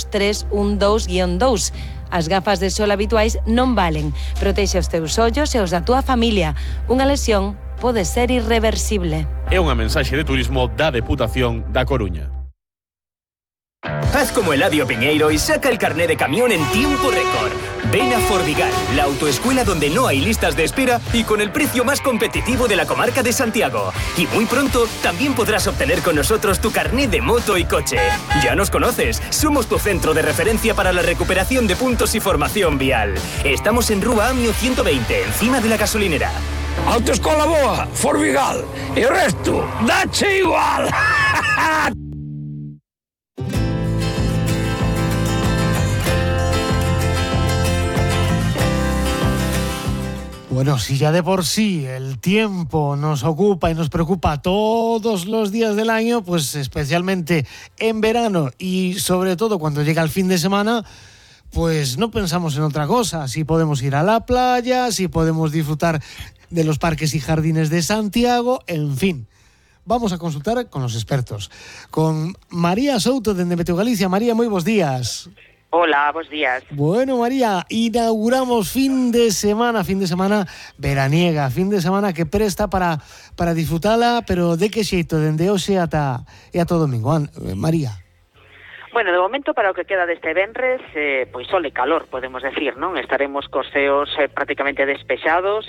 22312-2. As gafas de sol habituais non valen. Protexe os teus ollos e os da túa familia. Unha lesión pode ser irreversible. É unha mensaxe de turismo da Deputación da Coruña. Haz como Eladio Piñeiro y saca el carné de camión en tiempo récord. Ven a Fordigal, la autoescuela donde no hay listas de espera y con el precio más competitivo de la comarca de Santiago. Y muy pronto también podrás obtener con nosotros tu carné de moto y coche. Ya nos conoces, somos tu centro de referencia para la recuperación de puntos y formación vial. Estamos en Rúa Amio 120, encima de la gasolinera. Autoescola boa, Fordigal, y el resto, dache igual. Bueno, si ya de por sí el tiempo nos ocupa y nos preocupa todos los días del año, pues especialmente en verano y sobre todo cuando llega el fin de semana, pues no pensamos en otra cosa. Si podemos ir a la playa, si podemos disfrutar de los parques y jardines de Santiago, en fin. Vamos a consultar con los expertos. Con María Souto de Meteo Galicia. María, moi bons días. Hola, bons días. Bueno, María, inauguramos fin de semana veraniega, fin de semana que presta para disfrutala, pero de que xeito, dende hoxe ata o domingo. María. Bueno, de momento para o que queda deste venres, pois sol e calor, podemos decir, non? Estaremos cos ceos prácticamente despexados,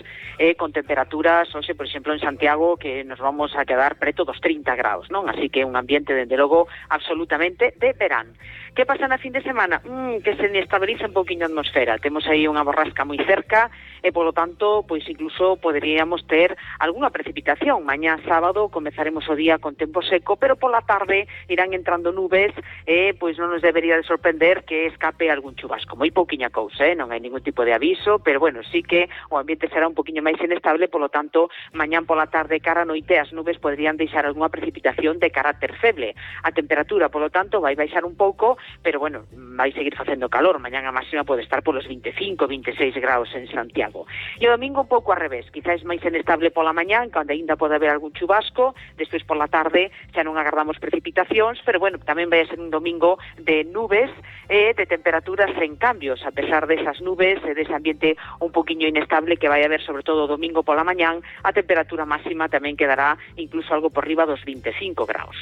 con temperaturas, hoxe, por exemplo, en Santiago, que nos vamos a quedar preto dos 30 graus, non? Así que un ambiente, dende logo, absolutamente de verán. Que pasa na fin de semana? Que se inestabiliza un pouquinho a atmosfera. Temos aí unha borrasca moi cerca e, polo tanto, pois incluso poderíamos ter algunha precipitación. Mañá sábado comezaremos o día con tempo seco, pero pola tarde irán entrando nubes e pois non nos debería de sorprender que escape algún chubasco. Moi pouquiña cousa, non hai ningún tipo de aviso, pero bueno, sí que o ambiente será un poquinho máis inestable, polo tanto, mañán pola tarde cara a noite as nubes poderían deixar algunha precipitación de carácter feble. A temperatura, polo tanto, vai baixar un pouco, pero bueno, vai seguir facendo calor. Mañán a máxima pode estar polos 25, 26 graus en Santiago. E o domingo un pouco ao revés, quizás máis inestable pola mañán, cando aínda pode haber algún chubasco, despois pola tarde xa non agardamos precipitacións, pero bueno, tamén vai ser un domingo de nubes e de temperaturas en cambios, a pesar desas nubes e dese ambiente un poquinho inestable que vai haber sobre todo o domingo pola mañán, a temperatura máxima tamén quedará incluso algo por riba dos 25 graus.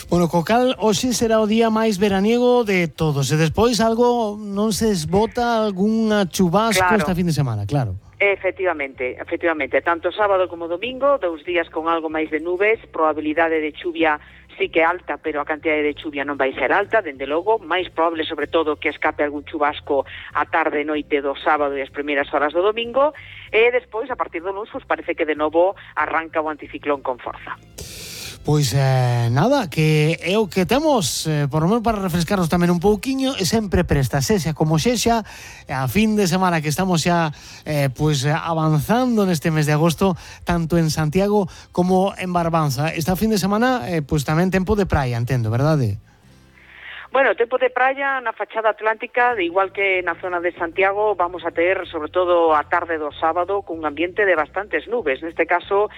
Bueno, Cocal, hoxe será o día máis veraniego de todos. E despois algo non se esbota algunha chubasco esta fin de semana, claro. Efectivamente, tanto sábado como domingo, 2 días con algo máis de nubes, probabilidade de chuvia sí que é alta, pero a cantidade de chuvia non vai ser alta, dende logo, máis probable sobre todo que escape algún chubasco a tarde e noite do sábado e as primeiras horas do domingo, e despois, a partir do luns, parece que de novo arranca o anticiclón con forza. Pois nada, que é o que temos, por lo menos para refrescarnos tamén un pouquiño, e sempre presta, sexa como sexa, a fin de semana que estamos xa pois avanzando neste mes de agosto, tanto en Santiago como en Barbanza. Esta fin de semana, pois tamén tempo de praia, entendo, verdade? Bueno, tempo de praia na fachada atlántica, de igual que na zona de Santiago, vamos a ter, sobre todo a tarde do sábado, cun ambiente de bastantes nubes. Neste caso,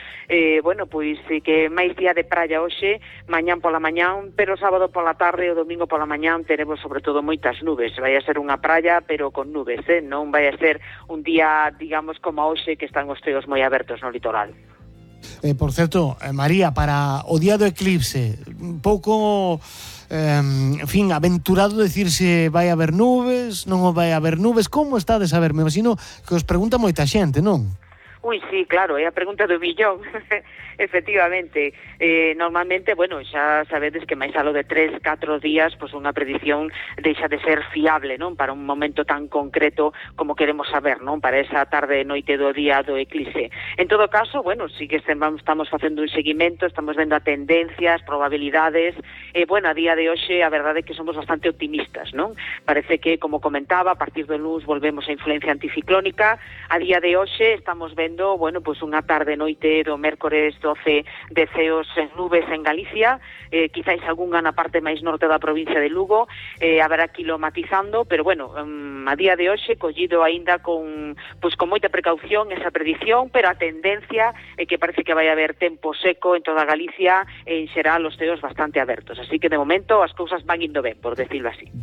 bueno, pois que máis día de praia hoxe, mañán pola mañán, pero sábado pola tarde e o domingo pola mañán teremos sobre todo moitas nubes. Vai a ser unha praia, pero con nubes, non vai a ser un día, digamos, como hoxe, que están os ceos moi abertos no litoral. Por certo, María, para o día do eclipse, un pouco... en fin, aventurado decir se vai haber nubes, non vai haber nubes, como está de saber? Me imagino que os pregunta moita xente, non? Ui, sí, claro, é a pregunta do billón. Efectivamente, normalmente, bueno, xa sabedes que máis alo de 3, 4 días, pois unha predición deixa de ser fiable, non? Para un momento tan concreto como queremos saber, non? Para esa tarde e noite do día do eclipse. En todo caso, bueno, sí que estamos facendo un seguimento, estamos vendo a tendencias, probabilidades, e, bueno, a día de hoxe, a verdade é que somos bastante optimistas, non? Parece que, como comentaba, a partir do luns volvemos a influencia anticiclónica. A día de hoxe estamos vendo, bueno, pois unha tarde e noite do mércores 12 de ceos en nubes en Galicia, quizáis algunha na parte máis norte da provincia de Lugo, haberá kilomatizando, pero bueno, a día de hoxe collido aínda con moita precaución esa predición, pero a tendencia é que parece que vai haber tempo seco en toda Galicia e en xeral os ceos bastante abertos, así que de momento as cousas van indo ben, por decirlo así.